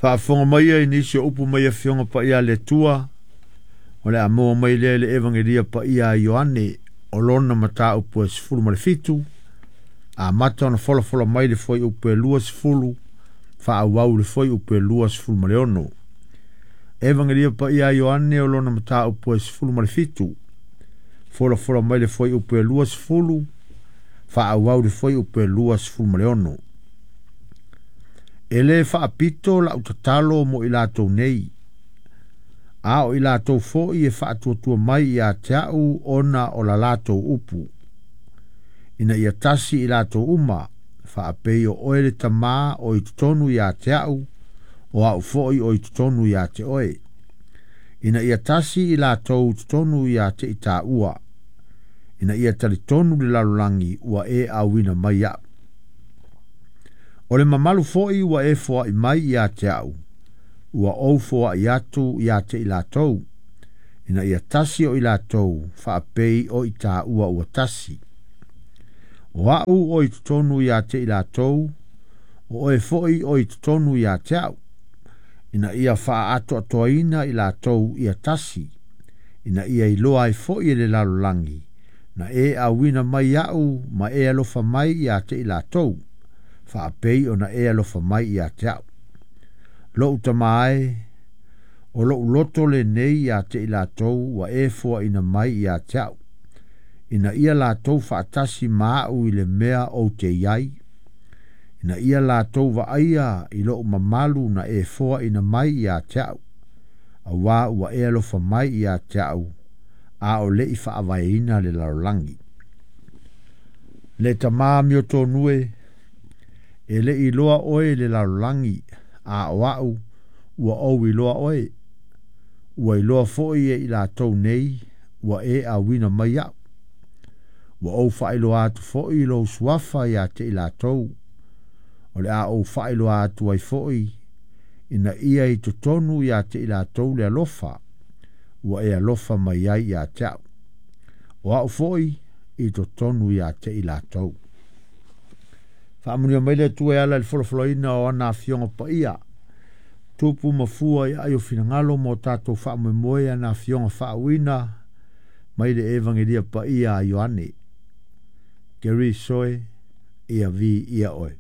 Faafofoga maia i nisi o upu mai Afioga Paia a le Atua, o le a maua mai lea i le Evagelia Paia a Ioane, o lona mataupu e 17, amata ona folafola mai le fuaiupu e 20, faaauau i le fuaiupu e 26. Evagelia Paia a Ioane o lona mataupu e 17, folafola mai le fuaiupu e 20, faaauau i le fuaiupu e 26. E lē faapito lau tatalo mo i latou nei, a o i latou foi e faatuatua mai ia te au ona o la latou upu, ina ia tasi i latou uma, faapei o oe le Tamā o i totonu ia te au, o au foi o i totonu ia te oe. Ina ia tasi i latou i totonu ia te i tāua, ina ia talitonu le lalolagi ua e auina mai au. O le mamalu foi ua e foai mai ia te au, ua ou foai atu ia te i latou, ina ia tasi o i latou, faapei o i tāua ua tasi. O au o i totonu ia te i latou, o oe foi o i totonu ia te au, ina ia faaatoatoaina i latou ia tasi, ina ia iloa ai foi e le lalolagi, na e auina mai au ma e alofa mai ia te i latou, faapei ona e alofa mai ia te au. Lou Tamā e, o lou loto lenei ia te i latou ua e foaina mai ia te au, ina ia latou faatasi ma au i le mea ou te i ai, ina ia latou vaaia i lou mamalu na e foaina mai ia te au, auā ua e alofa mai ia te au, a o le i faavaeina le lalolagi. Le Tamā amiotonu e, e le i iloa oe e le lalolagi, a o au ua ou iloa oe. Ua iloa foi e i latou nei ua e auina mai au. Ua ou faailoa atu foi lou suafa ia te i latou, o le a ou faailoa atu ai foi, ina ia i totonu ia te i latou le alofa ua e alofa mai ai ia te au. O au foi i totonu ia te i latou. Faamanuia mai le Atua e ala i le folafolaina o ana afioga paia, tupu ma fua i aai o finagalo mo tatou faamoemoe ana afioga faauuina mai le Evagelia Paia a Ioane. Keriso e, ia viia oe.